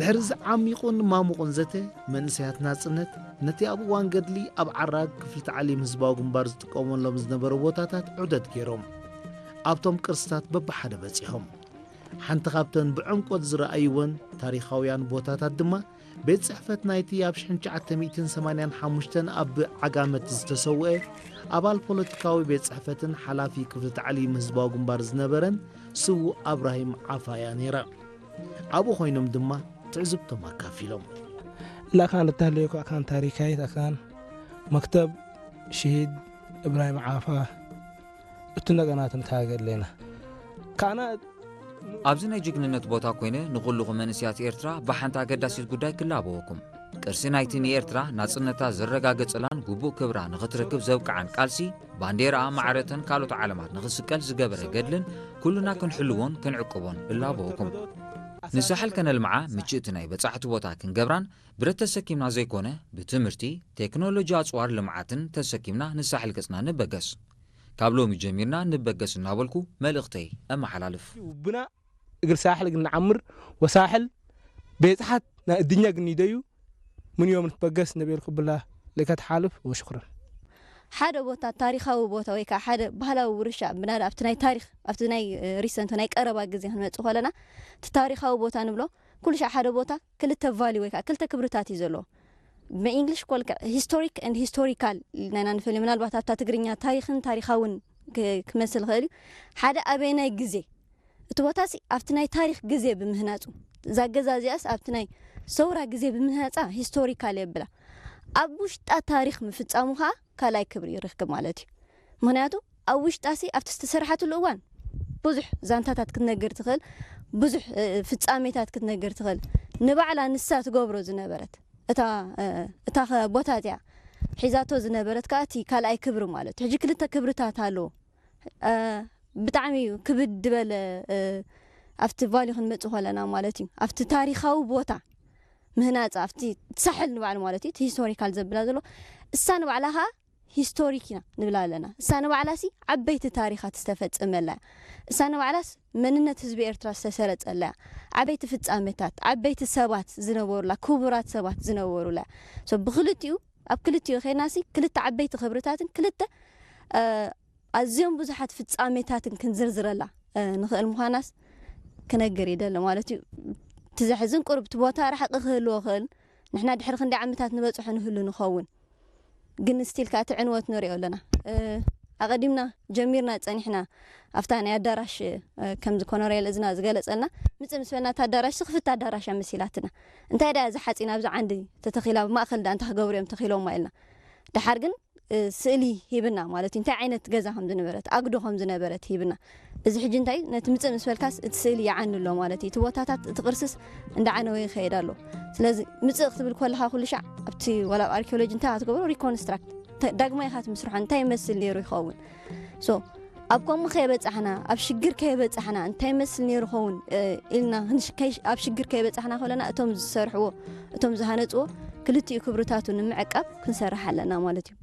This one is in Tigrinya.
ድሕሪ ዝዓሚቑን ማሙቑን ዘተ፣ መንእሰያት ናጽነት ነቲ ኣብ እዋን ገድሊ ኣብ ዓራግ ክፍሊ ታዕሊም ህዝባዊ ግንባር ዝጥቀመሎም ዝነበሩ ቦታታት ዑደት ገይሮም። ኣብቶም ቅርስታት በብሓደ በጺሖም። ሓንቲ ካብተን ብዕምቆት ዝረኣይወን ታሪኻውያን ቦታታት ድማ ቤት ጽሕፈት ናይቲ ኣብ ሽሕን ትሽዓተ ሚእትን ሰማንያን ሓሙሽተን ኣብ ዓጋመት ዝተሰውአ ኣባል ፖለቲካዊ ቤት ጽሕፈትን ሓላፊ ክፍሊ ታዕሊም ህዝባዊ ግንባር ዝነበረን ስዉእ ኣብራሂም ዓፋያ ነይራ። ኣብኡ ኮይኖም ድማ ትዕዝብቶም ኣካፊሎም። ላካን እተህለየኩ ኣካን ታሪካይት ኣካን መክተብ ሽሂድ እብራሂም ዓፋ እቱ ነገናትን ካገለና ካና ኣብዚ ናይ ጅግንነት ቦታ ኮይነ ንኹልኹም መንእስያት ኤርትራ ብሓንቲ ኣገዳሲት ጉዳይ ክላበወኩም። ቅርሲ ናይቲ ንኤርትራ ናጽነታ ዘረጋገጸላን ግቡእ ክብራ ንኽትረክብ ዘብቅዓን ቃልሲ፣ ባንዴራኣ ማዕረተን ካልኦት ዓለማት ንኽስቀል ዝገበረ ገድልን ኩልና ክንሕልዎን ክንዕቅቦን እላበወኩም። ንሳሕል ከነልምዓ ምችእቲ ናይ በጻሕቲ ቦታ ክንገብራን ብረት ተሰኪምና ዘይኮነ ብትምህርቲ፣ ቴክኖሎጂ ኣጽዋር ልምዓትን ተሰኪምና ንሳሕል ገጽና ንበገስ። ካብ ሎሚ ጀሚርና ንበገስ እናበልኩ መልእኽተይ እመሓላልፍ። ብና እግር ሳሕል ግን ንዓምር ወሳሕል ቤጽሓት ናይ እድኛ ግን ይደዩ ምን ዮም ንትበገስ ነበልኩ ብላ ለከት ሓልፍ ወሽክረን ሓደ ቦታ ታሪኻዊ ቦታ ወይ ከዓ ሓደ ባህላዊ ውርሻ ብናዳ ኣብቲ ናይ ታሪኽ ኣብቲ ናይ ሪሰንት ናይ ቀረባ ግዜ ክንመፅእ ከለና እቲ ታሪኻዊ ቦታ ንብሎ ኩሉ ሻዕ ሓደ ቦታ ክልተ ቫሊ ወይ ከዓ ክልተ ክብርታት እዩ ዘለዎ ብእንግሊሽ ኮልካ ሂስቶሪክ ን ሂስቶሪካል ኢልናና ንፈልዮ ምናልባት ኣብታ ትግርኛ ታሪኽን ታሪኻውን ክመስል ይኽእል እዩ ሓደ ኣበየናይ ግዜ እቲ ቦታሲ ኣብቲ ናይ ታሪኽ ግዜ ብምህናፁ እዛ ገዛ እዚኣስ ኣብቲ ናይ ሰውራ ግዜ ብምህናፃ ሂስቶሪካል የብላ ኣብ ውሽጣ ታሪኽ ምፍፃሙ ከዓ ካልኣይ ክብሪ ይረክብ ማለት እዩ ምክንያቱ ኣብ ውሽጣሲ ኣብቲ ዝተሰርሓትሉ እዋን ብዙሕ ዛንታታት ክትነግር ትኽእል ብዙሕ ፍፃሜታት ክትነግር ትኽእል ንባዕላ ንሳ ትገብሮ ዝነበረት እታ እታ ቦታ እዚኣ ሒዛቶ ዝነበረት ከዓ እቲ ካልኣይ ክብሪ ማለት ሕጂ ክልተ ክብርታት ኣለዎ ብጣዕሚ እዩ ክብድ ዝበለ ኣብቲ ቫሊ ክንመፅእ ከለና ማለት እዩ ኣብቲ ታሪካዊ ቦታ ምህናፅ ኣብቲ ሳሕል ንባዕሉ ማለት እዩ ሂስቶሪካል ዘብላ ዘሎ እሳ ንባዕላ ከዓ ሂስቶሪክ ኢና ንብላ ኣለና እሳ ንባዕላሲ ዓበይቲ ታሪኻት ዝተፈፀመላ እያ እሳ ንባዕላስ መንነት ህዝቢ ኤርትራ ዝተሰረፀላ እያ ዓበይቲ ፍፃመታት ዓበይቲ ሰባት ዝነበሩላ ክቡራት ሰባት ዝነበሩላ እያ ብክልቲኡ ኣብ ክልቲኡ ኸይናሲ ክልተ ዓበይቲ ክብርታትን ክልተ ኣዝዮም ብዙሓት ፍጻሜታትን ክንዝርዝረላ ንኽእል ምዃናስ ክነግር ይደሊ ማለት እዩ። እቲ ዘሕዝን ቁሩብ እቲ ቦታ ርሕቂ ክህልዎ ይኽእል። ንሕና ድሕሪ ክንደይ ዓመታት ንበጽሖ ንህሉ ንኸውን። ግን ስቲል ከኣ እቲ ዕንወት ንሪኦ ኣለና። ኣቐዲምና ጀሚርና ጸኒሕና ኣብታ ናይ ኣዳራሽ ከምዚ ኮነሬል እዝና ዝገለጸልና ምጽእ ምስ በልና እታ ኣዳራሽ ክፍቲ ኣዳራሽ እያ መሲላትና። እንታይ ደኣ እዛ ሓጺን ኣብዚ ዓንዲ ተተኺላ ኣብ ማእኸል ደኣ እንታይ ክገብሩ እዮም ተኺሎማ ኢልና። ደሓር ግን ስእሊ ሂብና ማለት እዩ እንታይ ዓይነት ገዛ ከም ዝነበረት ኣግዶ ከም ዝነበረት ሂብና እዚ ሕጂ እንታይ ነቲ ምፅእ ምስ በልካስ እቲ ስእሊ ይዓኒ ኣሎ ማለት እዩ እቲ ቦታታት እቲ ቅርስስ እንዳዓነወ ይኸይድ ኣሎ ስለዚ ምፅእ ክትብል ከለካ ኩሉ ሻዕ ኣብቲ ዋላ ኣብ ኣርኪኦሎጂ እንታይ ክትገብሮ ሪኮንስትራክት ዳግማይ ኢካ ትምስርሖ እንታይ ይመስል ነይሩ ይኸውን so ኣብ ከምኡ ከየበፃሕና ኣብ ሽግር ከየበፃሕና እንታይ ይመስል ነይሩ ኸውን ኢልና ኣብ ሽግር ከየበፃሕና ከለና እቶም ዝሰርሕዎ እቶም ዝሃነፅዎ ክልቲኡ ክብርታቱ ንምዕቃብ ክንሰርሕ ኣለና ማለት እዩ